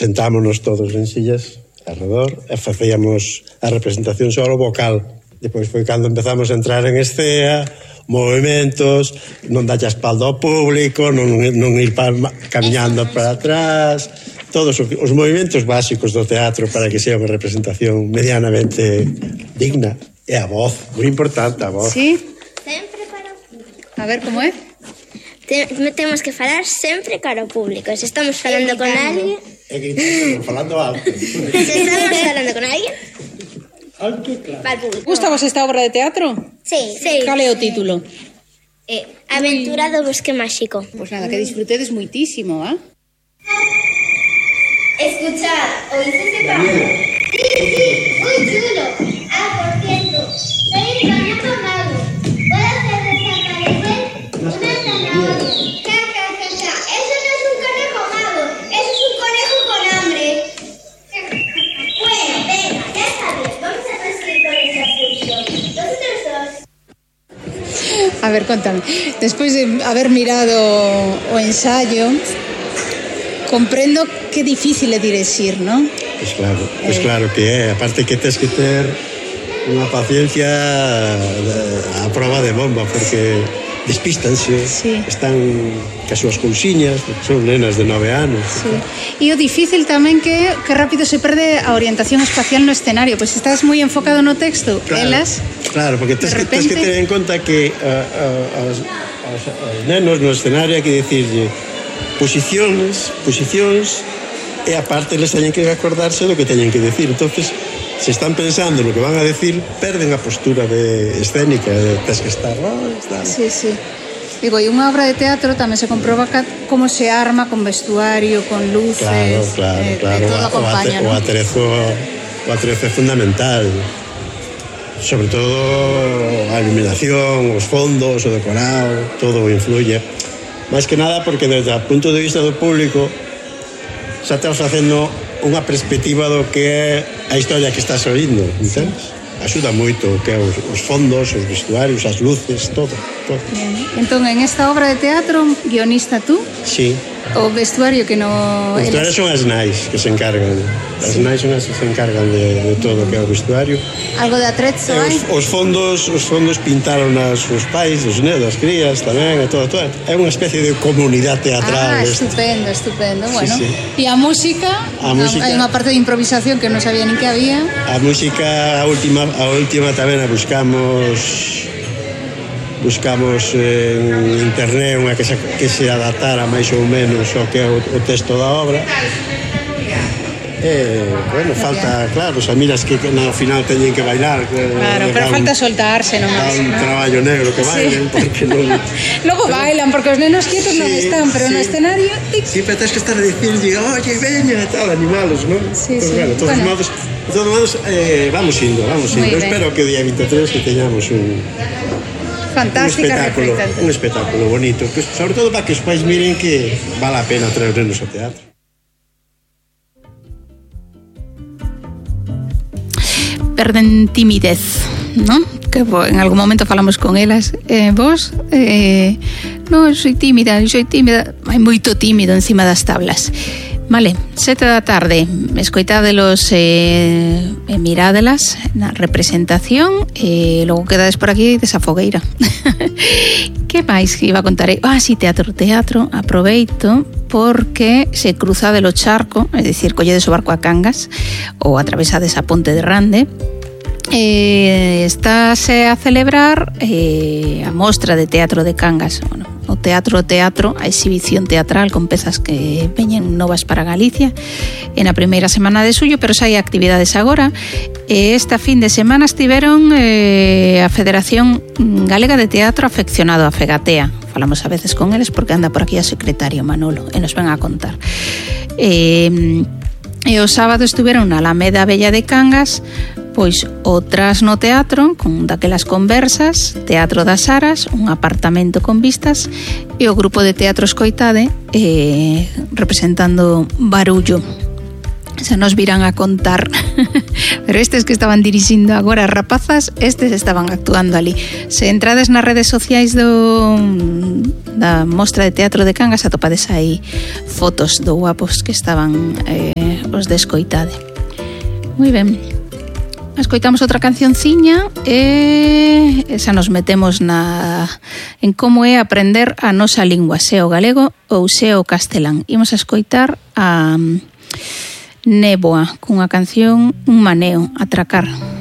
sentámonos todos en sillas alrededor e facíamos a representación só o vocal. Depois foi cando empezamos a entrar en escena, movimentos, non dalle a espalda ao público, non ir camiñando para atrás, todos os movimentos básicos do teatro para que sea unha representación medianamente digna. E a voz, moi importante a voz. Sí? Sempre para o público. A ver, como é? Temos que falar sempre cara ao público. Se estamos falando con alguén... E gritando, falando alto. Se estamos falando con alguén... Alto, claro. Para o público. Gustabas esta obra de teatro? Sí. Cal é o título? Aventura do bosque máxico. Pois nada, que disfrutedes moitísimo, ¿eh? Escuchad, ¿oíste ese pájaro? Sí, muy chulo. Por cierto, soy el conejo mago. ¿Puedo hacer desaparecer una zanahoria? Ja. Eso no es un conejo mago, eso es un conejo con hambre. Bueno, venga, ya sabes, vamos a proseguir con esa excursión. Vosotros dos. A ver, contame. Despois de haber mirado o ensayo, comprendo que difícil é direxir, non? Pois claro que é. Aparte que tens que ter unha paciencia a prova de bomba, porque despístanse, sí. Están cas súas cousiñas, son nenas de 9 anos. Sí. E o difícil tamén que rápido se perde a orientación espacial no escenario, pois estás moi enfocado no texto, claro, elas... Claro, porque tens que ter en conta que aos nenos no escenario hai que dicirlle posicións, e aparte les teñen que acordarse do que teñen que decir. Entonces, se están pensando no que van a decir, perden a postura de escénica, tens que estar... Sí. Digo, e unha obra de teatro tamén se comproba como se arma con vestuario, con luces... Claro. Todo acompaña, o atrezo é fundamental. Sobre todo a iluminación, os fondos, o decorado, todo influye. Máis que nada porque desde o punto de vista do público xa estás facendo unha perspectiva do que é a historia que estás oindo, entendes? Axuda moito o que é os fondos, os vestuarios, as luces, todo. Bien. Entón, en esta obra de teatro, guionista tú? Sí. O vestuario que no... Os vestuarios son as nais que se encargan. As nais son as que se encargan de todo o que é o vestuario. Algo de atrezzo, hai? Os fondos pintaron os pais, os nenos, as crías tamén, e todo. É unha especie de comunidade teatral. Estupendo. Bueno. Sí. E a música? Hai unha parte de improvisación que non sabía nin que había. A música, a última tamén a buscamos en internet unha que se adaptara máis ou menos ao que é o texto da obra. Bueno, falta, claro, xa miras que no final teñen que bailar. Claro, pero falta soltarse nomás. Un traballo negro que bailen, porque non... Logo bailan, porque os nenos quietos non están, pero no escenario... Sí, pero tens que estar a dicir, oye, veña, e tal, animalos, non? Sí. De todos modos, vamos indo. Eu espero que o día 23 que teñamos fantástica representación. Un espectáculo bonito, que, sobre todo para que os pais miren que vale a pena traer nenos ao teatro. Perden timidez, ¿no? Que en algún momento falamos con elas. Vos? No, soy tímida. Hai moito tímido encima das tablas. Vale, 7 da tarde, escoitádelos e mirádelas na representación e logo quedades por aquí desa fogueira. Que máis que iba a contar? Sí, teatro, aproveito porque se cruzade o charco, é dicir, colledes o barco a Cangas ou atravesades a ponte de Rande. Estáse a celebrar a mostra de teatro de Cangas, o teatro, a exhibición teatral con pezas que veñen novas para Galicia en a primeira semana de xullo, pero xa hai actividades agora. Esta fin de semana estiveron a Federación Galega de Teatro Afeccionado, a Fegatea. Falamos a veces con eles porque anda por aquí a secretario Manolo e nos ven a contar. E o sábado estiveron na Alameda Bella de Cangas, pois outras no teatro, con daquelas conversas, Teatro das Aras, un apartamento con vistas, e o grupo de teatro Escoitade representando Barullo. Se nos virán a contar, pero estes que estaban dirixindo agora rapazas, estes estaban actuando ali. Se entrades nas redes sociais da mostra de teatro de Cangas, atopades aí fotos do guapos que estaban os descoitade. Moi ben. Escoitamos outra cancionciña e esa nos metemos en como é aprender a nosa lingua, se o galego ou se o castelán. Imos a escoitar a Néboa cunha canción Un maneo, Atracar.